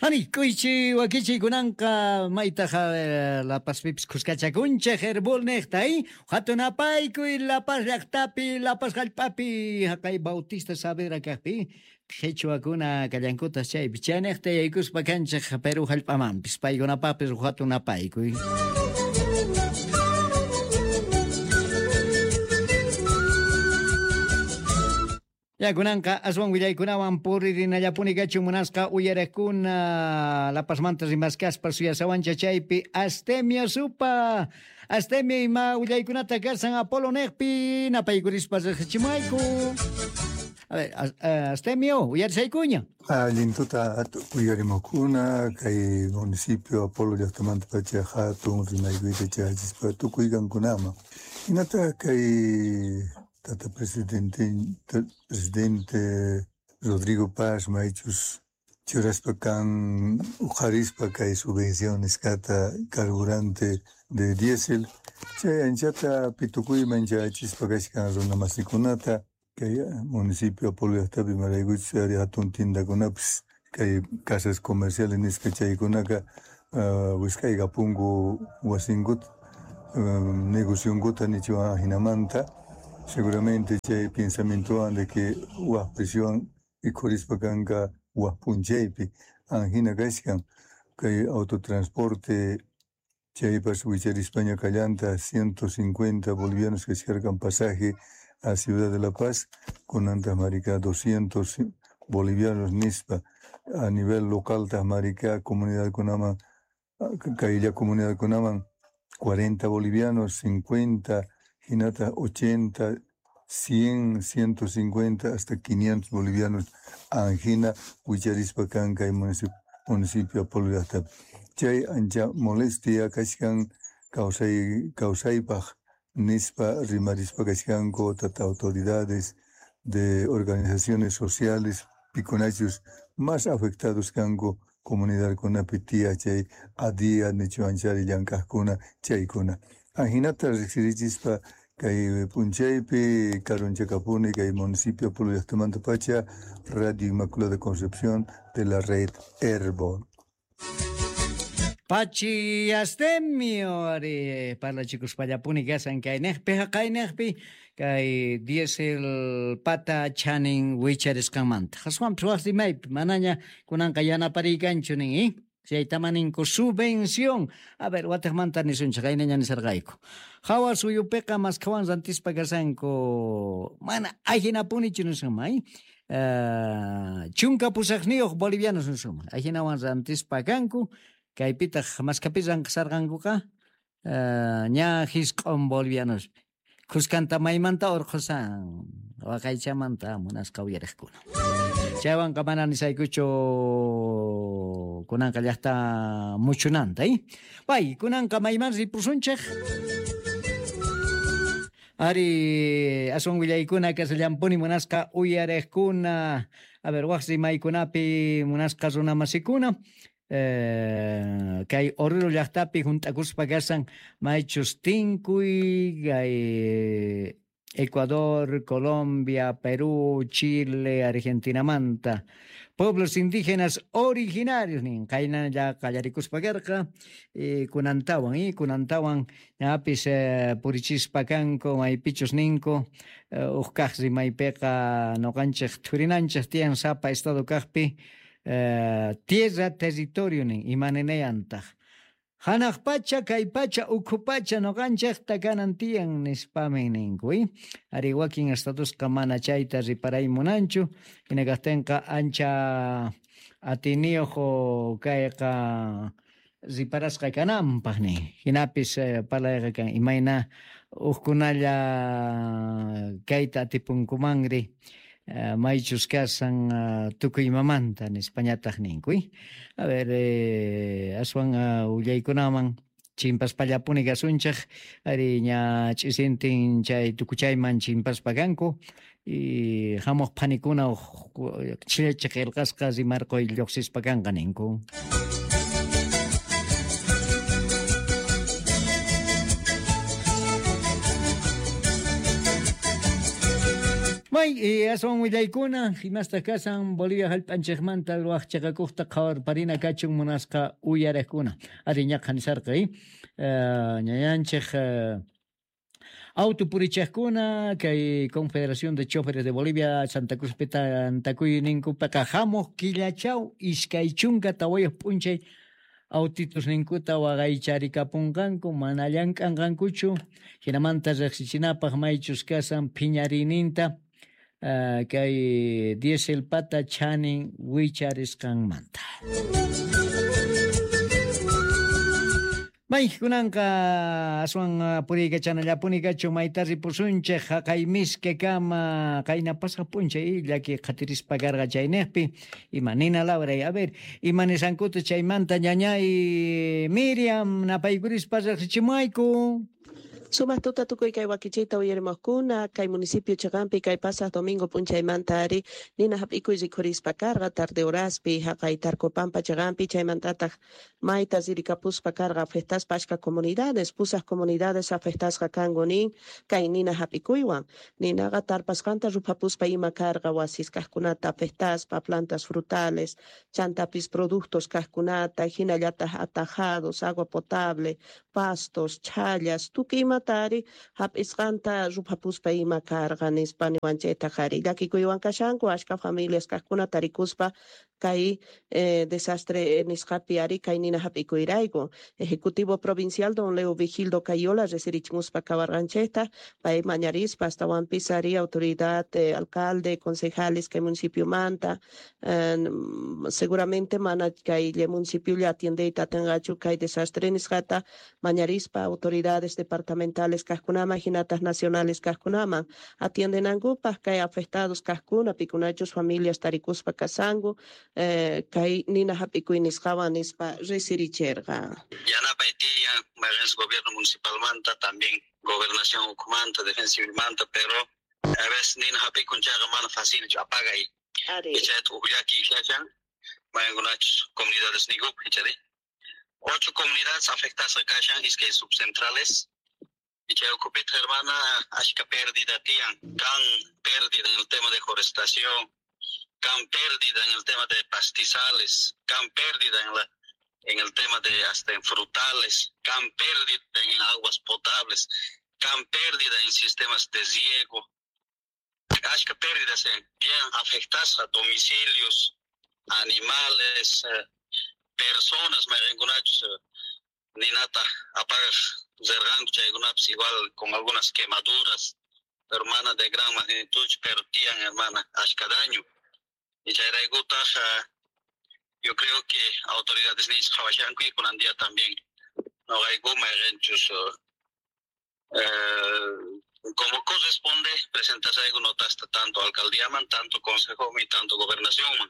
Ani, k'uychi wakichiy kunanqa maytaj La Pazpipis khuskachakunchej Herbol nejta, hatun apaykuy La Paz llajtapi, La Paz jallp'api, jaqay Bautista Saavedra kajpi, qhichwakuna kallankutas chaypi, chaynejta yaykuspa kanchej Perú jallp'amanpis, paykunapapis hatun apaykuy. Ya kunanqa aswan willaykunawan puririnallapuni kachun munasqa uyarejkuna La Pazmanta rimaskaspa suyasawancha chaypi Astemio Supa. Astemio ima willaykunata kasan Apolo nejpi napaykurispa riqsichimayku. A ver, Astemio, uyarisaykuña. Allin tuta uyarimukuna kay municipio Apolo llaqtamanta pacha hatun rimaykuyta chayachispa tukuy kankunaman. Hinataq kay tata presidente Rodrigo Paz maychus churaspa kan uqharispa kay subvención nisqata carburante de diésel chay anchata pitukuyman chayachispa kashkan runa masikunata kay municipio Apolo llaqtapi imaraykuchus ari hatun tiendakunapis kay casas comerciales nisqa chaykunaka wisq'aykapunku wasinkuta negocionkuta nichuwan jinamanta. Seguramente chay pensamientowan de que waj presión ikhurispa kanka waj p'unchaypi anjina kashkan kay autotransporte chaypas wicharispaña kallanta 150 bolivianos kashkarkan pasaje a Ciudad de La Paz kunantaq marika 200 bolivianos nispa a nivel local taq marika comunidadkunaman kaylla comunidadkunaman 40 bolivianos 50 hinata 80, 100, 150, hasta 500 bolivianos anjina wicharispa kan kay municipio Apolo llaqtapi. Chay ancha molestia kashkan kawsaypaq nispa rimarispa kashkanku tata autoridades de organizaciones sociales pikunachus más afectados kanku comunidadkunapi tiya chay adia nichuanchari llank'aqkuna chaykuna. Anjinata riqsirichispa kay p'unchaypi karunchakapuni kay municipio Apolo llaqtamanta pacha Radio Inmaculada Concepción de la red Herbol. Pachi Astemio ari parlachikuspallapuni kasan kaynejpi jaqaynejpi kay diésel pata chanin wicharisqanmanta. Aswanpis waj rimaypi manaña kunanqa yanapariykanchu nin, Chaytamaninku subvención. A ver, watejmanta nisunchej, qaynaña nisarqayku. Hawa suyupiqa maskhawan rantispa kasanku. Mana ajinapunichu nisunman, 18 bolivianos nisunman. Ajinawan rantispa kanku. Kaypitaq maskhapi ranqisarqankuqa ña 9 bolivianos. Khuskanta maymanta urqhusan waqaychamanta munasqa uyariqkuna. Chaywanqa mana nisaykuchu kunanqa llaqta muchunanta, Pay, kunanqa mayman ripusunchej. Ari, aswan willaykuna kasallampuni munasqa uyariqkuna. A ver, waj rimaykunapi munasqa runamasikuna. Kay Oruro llaqtapi junt'akuspa kasan maychus tinkuy kay Ecuador, Colombia, Perú, Chile, Argentinamanta. Pueblos indígenas originarios nin qaynalla qallarikuspa karqa kunantawan ñapis purichispa kanku maypichus ninku uj kaq rimaypiqa noqanchej thurinanchej tiyan sapa estado kaqpi tierra territorio nin imaninayantaq. Hanaq pacha, kay pacha, ukhu pacha noqanchejta kanan tiyan nispamin ninku. Ari wakin estadosqa mana chayta riparay munanchu, hina kaqtinqa ancha atiniyuq kayqa riparasqa kananpaq nin. Hinapis parlayqa kan imayna hukkunalla kayta atipunkumanri maychus kasan tukuy imamanta nispañataq ninku. A ver, aswan willaykunaman chimpaspallapuni kasunchej ari ña ch'isintin chay tukuchayman chimpaspa kanku y hamuq phanikuna chhillachi qillqasqa rimarquy lluqsispa kanqa ninku. May aswan willaykuna imastaq kasan Bolivia hallp'anchikmanta waqchaqakuqta qhawarparina kachun munasqa uyariqkuna. Ari ñaqa nisarqa ñañanchik Autopurichaqkuna kay Confederación de Choferes de Bolivia Santa Cruz tantakuyninkupaqa hamuq killachaw 24 p'unchay autitusninkuta waqaycharikapunqanku mana llank'anqankuchu hinamanta riqsichinapaq maychus kasan phiñariyninta kay dieselpata chanin wicharisqanmanta. May kunanqa aswan puriykachanallapuni kachu mayta ripusunchik haqay miske kama qayna pasaq p'unchay llaki qhatirispa karqa chayniqpi ima nina lawray a ver ima nisankuta chaymanta ñañay Miriam napaykurispa riqsichimuayku. Sumaq tuta tukuy kay wakichiyta uyarimuqkuna kay municipio chiqanpi kay pasaq domingo p'unchaymanta ari nina hap'ikuy rikhurispa karqa tarde horaspi haqay Tarcopampa chiqanpi chaymantataq mayta ririkapuspa karqa afectaspa achka comunidades pusaq comunidades afectasqa kanku nin kay nina hap'ikuywan ninaqa tarpasqanta ruphapuspa ima karqa wasis kaqkunata afectaspa plantas frutales chantapis productos kaqkunata hinallataq atajados agua potable pastos chhallas tukuy imata ari hap'isqanta ruphapuspa ima karqa nispa niwanchaytaq ari llakikuywan kashanku achka familias kaqkuna tarikuspa kay desastre nisqapi ari kay nina hap'ikuyrayku. Ejecutivo Provincial don Leo Vigildo Cayola resirichimuspa kawarqanchikta pay mañarispa astawanpis ari autoridad alcalde concejales kay municipiomanta seguramente mana kay municipio atiendeyta atinqachu kay desastre nisqata mañarispa autoridades departamentales kaqkunaman hinataq nacionales kaqkunaman atiendenankupaq kay afectados kaqkuna pikunachus familias tarikuspa kasanku kay nina hap'ikuy nisqawan nispa resiricherqa. Yanapay tiyan mayqinchis gobierno municipalmanta también gobernación ukhumanta defensa civilmanta pero a veces nina hap'ikun chayqa mana facilchu apagay. Chayta uj llaki kashan mayqinkunachus comunidades niykupi ichari 8 comunidades afectadas kashan iskay subcentrales. Y chay ukhupitaq hermana achka pérdida tiyan kan pérdida en el tema de forestación, kan pérdida en el tema de pastizales, kan pérdida en el tema de hasta en frutales, kan pérdida en aguas potables, kan pérdida en sistemas de riego, achka pérdidas en bien afectadas a domicilios, animales, personas, mayqinkunachus ninata apagaq rirqanku chaykunapis igual con algunas quemaduras, hermana de gran magnitud, pero tiyan hermana achka daño. Y chayraykutaq yo creo que autoridades nisqa qhawashanku y kunan día también noqayku mayqinchus como corresponde presentasayku notasta tanto alcaldíaman, tanto consejoman y tanto gobernacionman.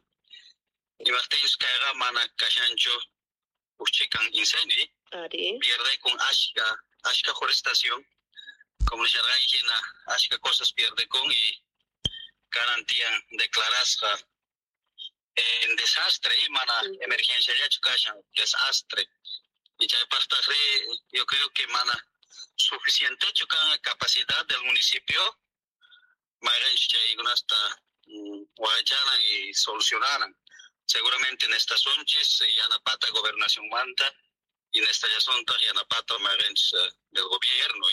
Imaqtinchus kayqa mana kashanchu uj chikan incendio. Pierde con ashka forestación, como nisharqanki hina ashka cosas pierde con y garantían declarasqa en desastre y mana emergencia llachu kashan desastre. Y chaypaqtaqri yo creo que mana suficientechu kan capacidad del municipio mayqinchus chaykunasta waqaychanan y solucionaran. Seguramente en estas unchis yanapata gobernación manta y en esta llasuntaq yanapata mayqinchus del gobierno.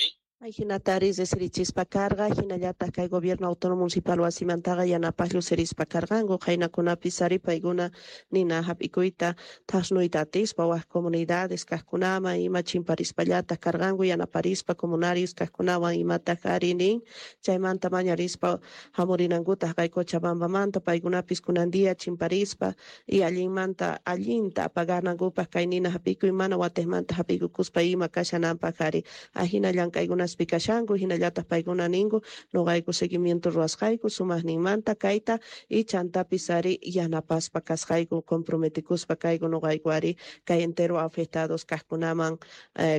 Hinatari resirichispa karqa hinallataq kay gobierno autónomo municipal wasimantaqa yanapaq llusirispa karqanku qaynakunapis ari paykuna nina hap'ikuyta thasnuyta atispa wak comunidades kaqkunaman ima chimparispallataq karqanku yanaparispa comunarios kaqkunawan imataq ari nin chaymanta mañarispa hamurinankutaq kay Cochabambamanta paykunapis kunan día chimparispa y allinmanta allinta apaganankupaq kay nina hap'ikuy mana watiqmanta hap'ikukuspa ima kashananpaq ari ahina llank'aykunas pikashanku hinallataq paykuna ninku noqayku seguimiento ruwasqayku sumaqninmanta kayta y chantapis ari yanapaspa kasqayku comprometikuspa kayku noqayku ari kay entero afectados kaqkunaman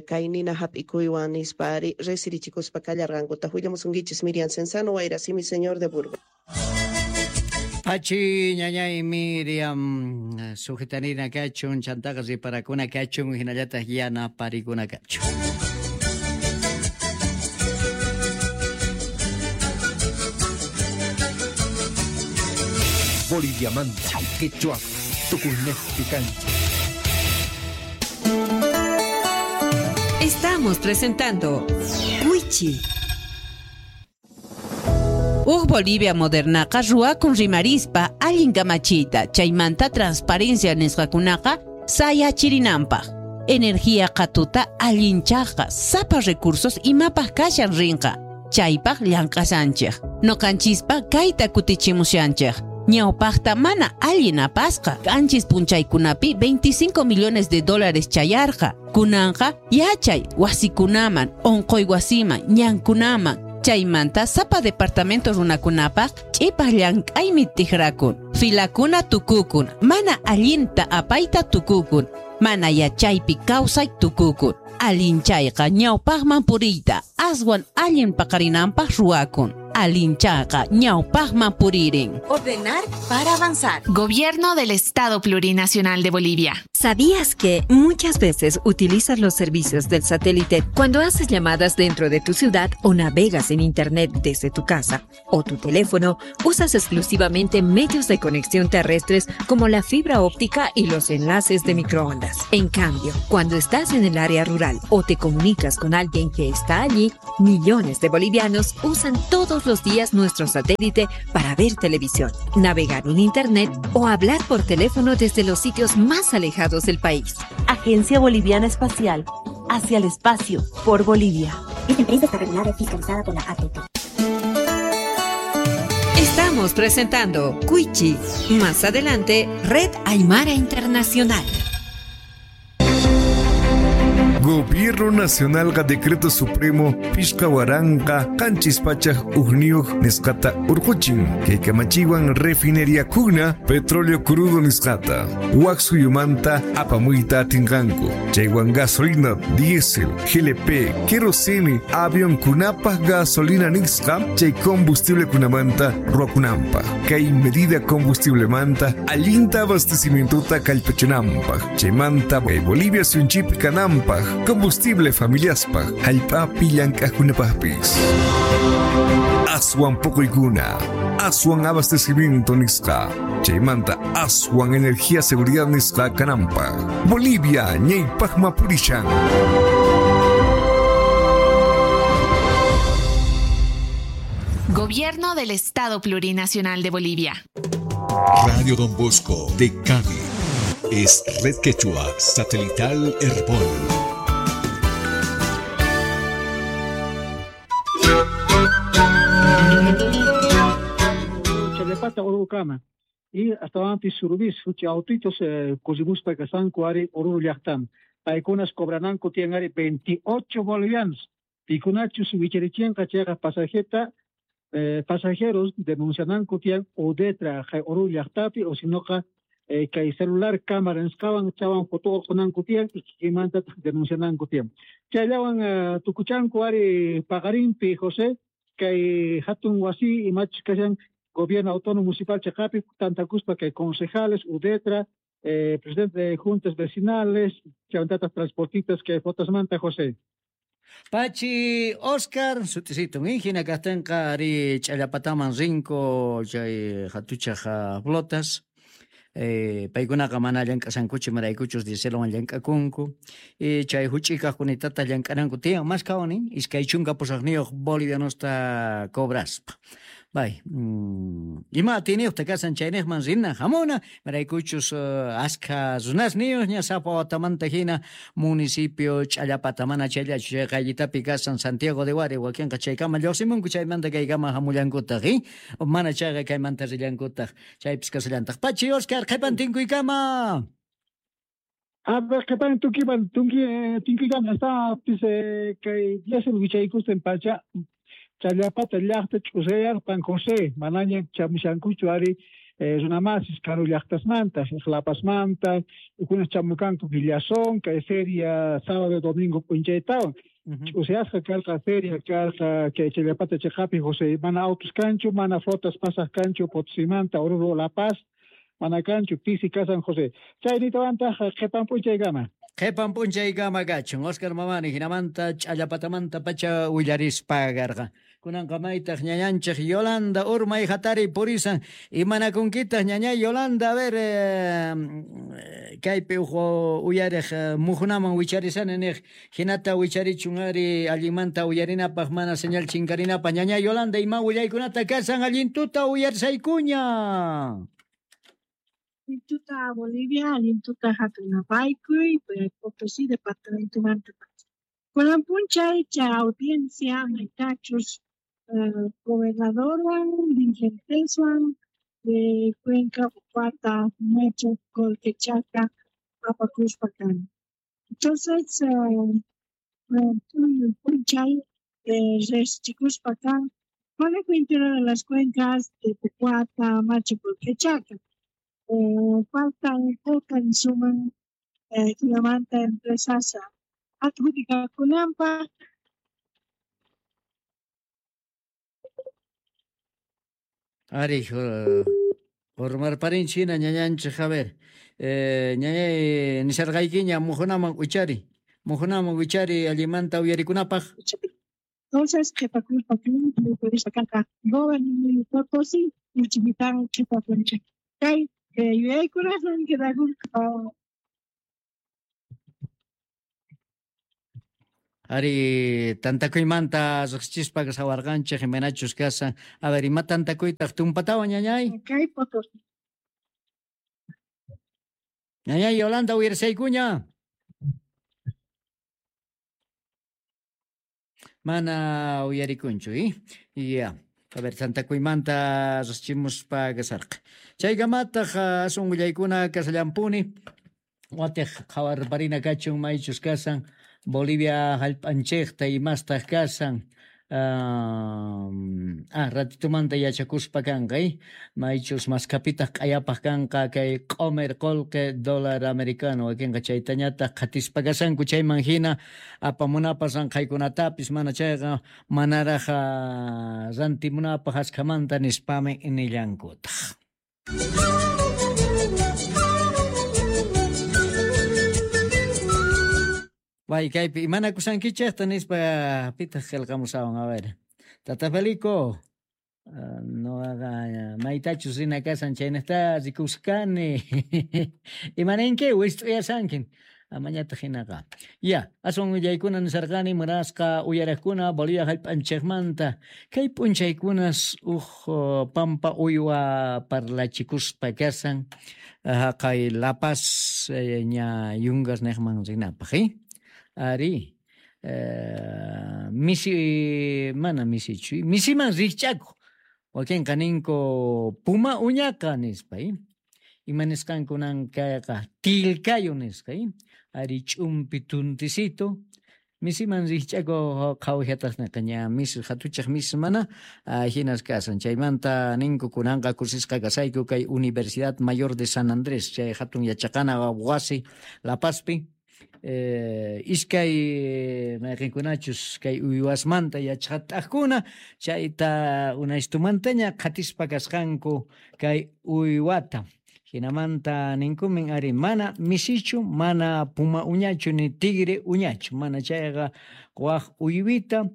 kay nina hap'ikuywan nispa ari resirichikuspa kallarqankuta. Willamusunkichis Miriam Cenzano Wayrasimi señor de Burgos. Pachi ñañay Miriam sujetanina kachun chantaqa riparakuna kachun hinallataq yanaparikuna kachun. Boliviamanta, Quechua, Tucunejpi Cancha. Estamos presentando Wichi. Uj Bolivia modernaqa ruwakun rimarispa allin kamachiyta, chaymanta transparencia nisqakunaqa sayachirinanpaq. Energía qhatuta allinchaqqa sapa recursos imapaq kashan rinqa, chaypaq llank'asanchik. Noqanchispa kayta kutichimushanchik. Ñawpaqta mana allin apasqa, qanchis punchaykunapi 25 millones de dólares chayarqa. Kunanqa yachay wasikunaman, onqoy wasiman, ñankunaman. Chaymanta sapa departamento runakunapaq ch'ipaq llank'aymi tijrakun. Filakuna tukukun, mana allinta apayta tukukun, mana yachaypi kawsay tukukun. Allinchayqa ñawpaqman puriyta, aswan allin paqarinanpaq ruwakun. Allinchayqa ñawpaqman puririn. Ordenar para avanzar. Gobierno del Estado Plurinacional de Bolivia. ¿Sabías que muchas veces utilizas los servicios del satélite cuando haces llamadas dentro de tu ciudad o navegas en internet desde tu casa o tu teléfono? Usas exclusivamente medios de conexión terrestres como la fibra óptica y los enlaces de microondas. En cambio, cuando estás en el área rural o te comunicas con alguien que está allí, millones de bolivianos usan todos los días nuestro satélite para ver televisión, navegar en internet o hablar por teléfono desde los sitios más alejados del país. Agencia Boliviana Espacial, hacia el espacio, por Bolivia. Esta empresa está regulada y fiscalizada por la ATT. Estamos presentando Cuichi. Más adelante, Red Aymara Internacional. Gobierno Nacional ga Decreto Supremo Pishka Waranqa Qanchis Pachaj Ujniyuq nisqata urquchin kay kamachiwan refinería kuna petróleo crudo nisqata wak suyumanta apamuyta atinqanku chaywan gasolina diésel GLP kerosene avión kunapaj gasolina nisqa chay combustible kunamanta ruwakunanpaj kay medida combustiblemanta allinta abastecimientota kallpachinanpaj chaymanta kay Bolivia suyunchikpi kananpaj combustible familiaspaj jallp'api llank'ajkunapajpis. Aswan poqoykuna, aswan abastecimiento nisqa, chaymanta aswan energía seguridad nisqa kananpaj. Bolivia ñaypaqma purishan. Gobierno del Estado Plurinacional de Bolivia. Radio Don Bosco de Cami es Red Quechua Satelital Herbol. Orurukama y hasta antes surubis huchi autitos kusimuspa kasanku ari Oruro llaqtam paykunas cobrananku tiyan ari 28 bolivianos pikunachus wicharichinqa chayqa pasajeta pasajeros denunciananku tiyan udetra hay Oruro llaqtapi o sinoqa kay celular cámara nisqawan chawan foto urqunanku tiyan y kikinmanta denunciananku tiyan chayllawan tukuchanku ari paqarinpi José kay hatun wasi imachus kashan Gobierno Autónomo Municipal Chacapi, tantakuspa que concejales, UDETRA, presidente de juntas vecinales, chavantatas transportistas que fotasmanta José. Pachi Oscar, sutisito, hina kajtenqa ari ch'allapataman rinko chay hatuchaj flotas. Paykunaqa mana llank'asankuchu imaraykuchus dieselwan llank'akunku chay huch'ikaqkunitata llank'ananku tiyan mas kawani 28 bolivianosta cobraspa. Bay, ima atiniyuqta kasan chayniqman rina hamuna imaraykuchus askha runasniyuq ña sapa watamanta hina municipio Ch'allapata mana chayllachu chay qayllitapi kasan Santiago de Huari wakinqa chaykama lluqsimunku chaymanta kaykama hamullankutaq mana chayqa kaymanta rillankutaq chaypis kasallantaq. Pachi Oscar qhipan tinkuykama. A ver, qhipan tunkiman tinkuykama hasta kay diésel wichaykustin pacha Challapata llaqta ch'usayarpan José manaña chamushankuchu ari runamasis karu llaqtasmanta Lapasmanta ukunas chamukanku Villazón kay feria sábado domingo p'unchaytawan ch'usayasqa karqa feria karqa kay Challapata chiqapi José mana autos kanchu mana flotas pasaq kanchu Potosimanta Oruro La Paz mana kanchu pisi kasan José chaynitawantaq qhipan p'unchaykama. Qhipan p'unchaykama kachun Oscar Mamani hinamanta Ch'allapatamanta pacha willarispa karqa. Kunanqa maytaq ñañanchik Yolanda urmay hatari purisan. Imanakunkitaq ñañay Yolanda, a ver, kaypi uj uyariq mujunaman wicharisani niq hinata wicharichun ari allinmanta uyarinapaq mana señal chinkarinapaq. Ñañay Yolanda, ima willaykunata kasan allintuta uyarisaykuña. Allintuta Bolivia, allintuta hatunapaykuy, Potosí departamento manta. Kunan p'unchay chay audiencia maytachus gobernadorwan dirigenteswan de Cuenca, Upata, Macho, Colquechaca, apakuspa kan. Entonces, p'unchay riqsichikuspa kan Colegio Interior de las Cuencas de Pucuata, Macho, Colquechaca. Faltan poca suman jinamanta empresas adjudicakunanpaq. Ari, urmarparinchik hina ñañanchik, a ver, ñañay nisharqaykiña mujunaman wichari allimanta uyarikunapaq. Entonces, qhipakuspa kanqa gobierno Potosí uchipitan qhipakunchik. Kay yuyaykunaswan quedakun. Ari, tantakuymanta riqsichispa sawarqanchik imaynachus kasan. A ver, ima tantakuytaq tumpatawan ñañay? Kay Potosí. Ñañay Yolanda uyarisaykuña. Mana uyarikunchu, Ya. A ver, tantakuymanta riqsichimuspa kasarqa. Chaykamataq asun willaykuna kasallampuni. Watiq qhawarparina kachun maychus kasan. Bolivia hallp'anchikta imastaq kasan. Ratitumanta yachakuspa kanqa, maychus maskapitaq q'ayapaq kanqa kay q'omer qullqi dólar americano wakinqa chaytañataq qhatispa kasanku chayman hina apamunapaq ranqhaykunatapis mana chayqa manaraq rantimunapaq askhamanta nispami nillankutaq. Way kaypi imanakusankichikta nispa pitaq qillqamusawan, a ver. Tata Felico, noqaqa maytachus rina kasan chaynaqta rikuskani. Imaninki wist'uyasankin. Amañataq hinaqa. Ya, aswan willaykuna nisarqani munasqa uyaraqkuna Bolivia hallp'anchikmanta. Kay p'unchaykunas uj pampa uywa parlachikuspa kasan haqay La Paz ña Yungas niqman rinapaq, Ari, misi, mana misichu, misiman rikch'akuq. Wakinqa ninku puma uñaqa nispa, Ima nisqankunan kayqa tilkayo nisqa, Ari ch'umpi tuntisito. Misiman rikch'akuq qhawajataq niqa ña misi hatuchaq misi mana hinas kasan. Chaymanta ninku kunanqa kusisqa kasayku kay Universidad Mayor de San Andrés, chay hatun yachaqana wasi La Pazpi. Iskay mayqinkunachus kay uywasmanta yachaqat'aqkuna chayta unaystumantaña qhatispa kasqanku kay uywata. Hinamanta ninkumin ari mana misichu, mana puma uñachu ni tigre uñachu, mana chayqa waq uywita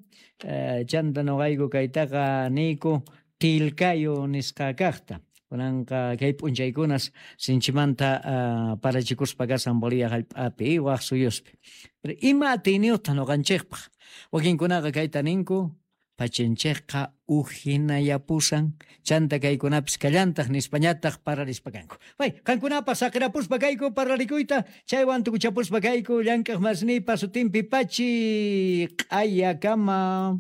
chanta nuqayku kaytaqa niyku tilkayo nisqa kaqta. Kunanqa kay p'unchaykunas sinchimanta parachikuspa kasan Bolivia hallp'api waq suyuspi. Pero ima atiyniyuqtaq nuqanchikpaq? Wakinkunaqa kayta ninku pachanchikqa ujinayapusan chanta kaykunapis kallantaq nispañataq paralispa kanku. Way, qankunapaq saqirapuspa kayku parlarikuyta chaywan tukuchapuspa kayku llank'aq masnipa sutinpi pachi q'ayakama.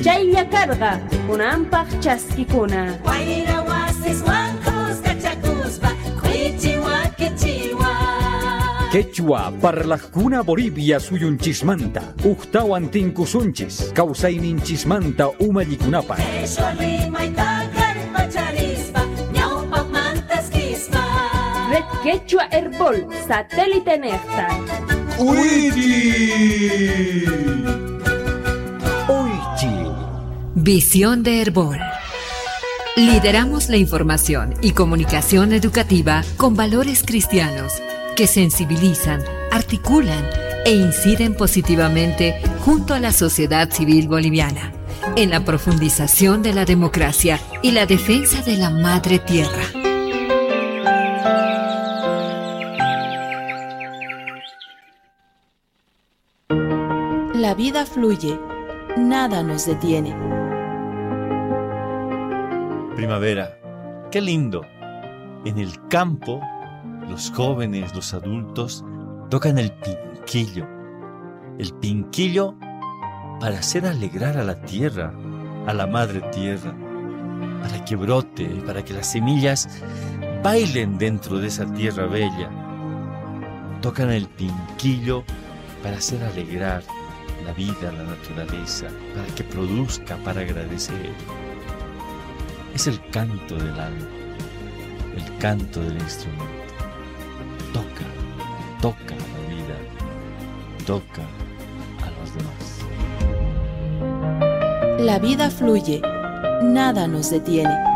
Chaylla karqa kunanpaq chaskikuna. Wayra wasiswan kuskachakuspa k'uichi wakichiwa. Quechua parlajkuna Bolivia suyunchismanta ujtawan tinkusunchis kawsayninchismanta umallikunapaq. Qheshwa rimayta kallpacharispa ñawpaqmantaskispa. Red Quechua Herbol satélite nejta. ¡Uichi! ¡Uichi! Visión de Herbol. Lideramos la información y comunicación educativa con valores cristianos que sensibilizan, articulan e inciden positivamente junto a la sociedad civil boliviana en la profundización de la democracia y la defensa de la madre tierra. La vida fluye, nada nos detiene. Primavera, qué lindo. En el campo, los jóvenes, los adultos, tocan el pinquillo. El pinquillo para hacer alegrar a la tierra, a la madre tierra, para que brote, para que las semillas bailen dentro de esa tierra bella. Tocan el pinquillo para hacer alegrar la vida, la naturaleza, para que produzca, para agradecer. Es el canto del alma, el canto del instrumento. Toca, toca la vida, toca a los demás. La vida fluye, nada nos detiene.